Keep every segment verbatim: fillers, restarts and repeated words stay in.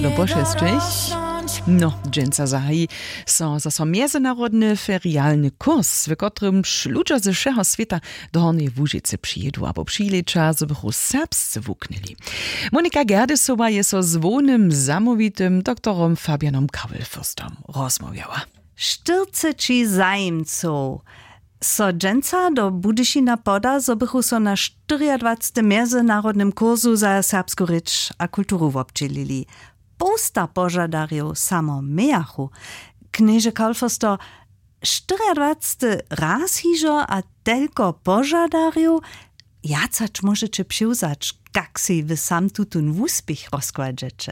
Do pošesćich. No, dźensa zahaji so zaso mjezynarodny ferialny kurs, w kotrymž ludźo ze wšeho swěta do Hornjeje Łužicy přijědu abo přilěća, zo bychu serbsce wuknyli. Monika Gerdesowa je so z hłownym zamołwitym doktorom Fabianom Kawelfürstom rozmołwjała. Štyrceći zajimcow so dźensa do Budyšina poda, zo bychu so na štyriadwacetym mjezynarodnym kursu za serbsku rěč a kulturu wobdźělili. Połsta požadarjow samo mějachu. Knježe Kaulfürsto, štyriadwacety raz hižo a telko požadarjow, wjac hač móžeće přiwzać, kak sej wy sam tutón wuspěch rozkładźeće?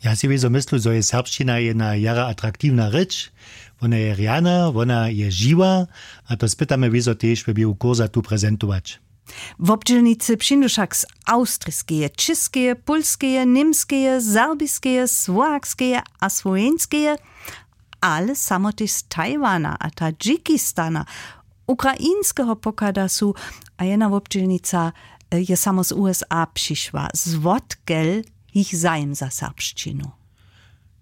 Ja sej wězo myslu, zo je serbšćina jedna jara atraktiwna rěč. Wona je rjana, wona je žiwa, a to spytamy wězo tež we běhu kursa tu prezentować. Wobdźělnicy přińdu wšak z awstriskeje, čěskeje, pólskeje, němskeje, serbiskeje, słowakskeje a słoweńskeje, ale samo tež z Tajwana a Tadžikistana, ukrainskeho pochada su. A jedna wobdźělnica, e, je samo z U S A přišła. Zwotkel jich zajim za serbšćinu?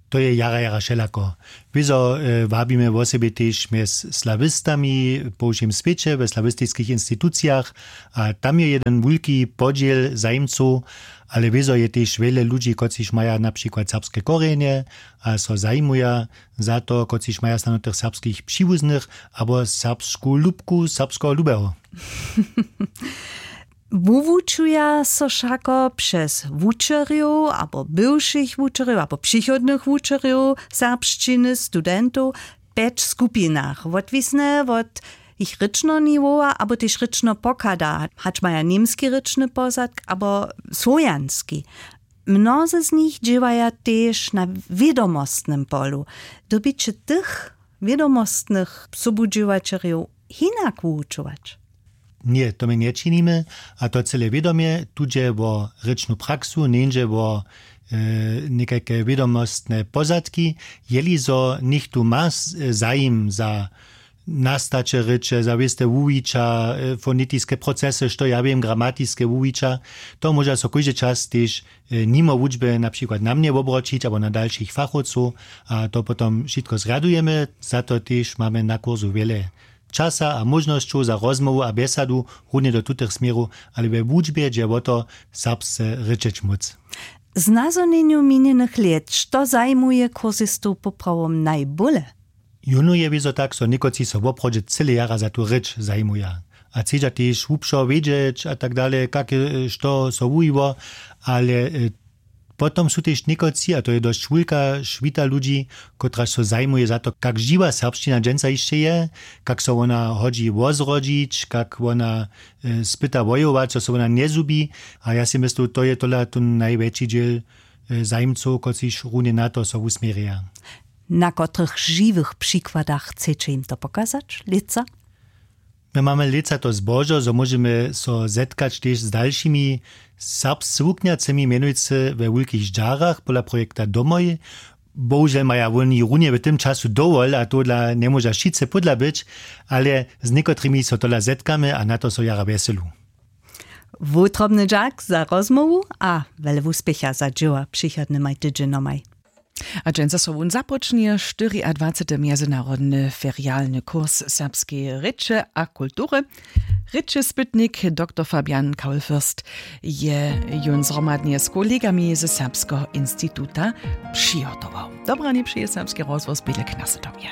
To je jara jara wšelako. Wězo, e, wabimy wosebje tež mjez slawistami po wšěm swěće we slawistiskich institucijach, a tam je jeden wulki podźěl zajimcow. Ale wězo je tež wjele ludźi, kotřiž maja na přikład serbske korjenje a so zajimuja za to, kotřiž maja snano tych serbskich přiwuznych abo serbsku lubku serbskeho lubeho. Wuwučuja so wšako přez wučerjow abo bywšich wučerjow abo přichodnych wučerjow serbšćiny, studentow, w pjeć skupinach, wotwisne wot jich rěčneho niwowa abo tež rěčneho pochada, hač maja němski rěčny pozadk abo słowjanski. Mnozy z nich dźěłaja tež na wědomostnym polu. Dyrbiće tych wědomostnych sobudźěłaćerjow hinak wuwučować? Ně, to my nječinimy, a to cyle wědomje. Tu dźe wo rěčnu praksu, njeńdźe wo, e, někajke wědomostne pozadki. Jeli zo něchtó ma s-, e, zajim za nastaće rěče, za wěste wuwića, e, fonetiske procesy, što ja wěm, gramatiske wuwića, to móža so kóždy čas tež, e, nimo wučby na přikład na mnje wobroćić abo na dalšich fachowcow, a to potom wšitko zrjadujemy. Za to tež mamy na kursu wjele časa a móžnosćow za rozmołwu a bjesadu runje do tutych směrow, ale we wučbje dźe wo to, serbsce rěčeć móc. W znazhonjenju minjenych lět, što zajimuje kursistow poprawom najbóle? Jónu je wězo tak, zo někotři so woprawdźe cyle jara za tu rěč zajimuja a chcedźa tež hłubšo wědźeć a tak dale, kak je, e, što so wuwiło, ale, e, potom su tež někotři, a to je dosć wulka šwita ludźi, kotraž so zajimuje za to, kak žiwa serbšćina dźensa hišće je, kak so wona hodźi wozrodźić, kak wona, e, spyta wojować, zo so wona njezhubi. A ja sej myslu, to je tola tón najwjetši dźěl, e, zajimcow, kotřiž runje na to so wusměrja. Na kotrych žiwych přikładach chceće jim to pokazać lětsa? My mamy lětsa to zbožo, zo móžemy so zetkać tež z dalšimi serbsce wuknjacymi, mjenujcy we Wulkich Žarach pola projekta Domoj. Bohužel maja woni runje w tym času dowol a tohodla njemóža wšitcy pódla być, ale z někotrymi so tola zetkamy a na to so jara wjeselu. Wutrobny dźak za rozmołwu a wjele wuspěcha za dźěła přichodnymaj tydźenjomaj. A dźensa so wón započnje štyriadwacety mjezynarodny ferialny kurs serbskeje rěče a kultury. Rěčespytnik doktor Fabian Kaulfürst je jón zhromadnje z kolegami ze Serbskeho instituta přihotował. Dobranje přeje Serbski rozhłos Bělek na Sedomje.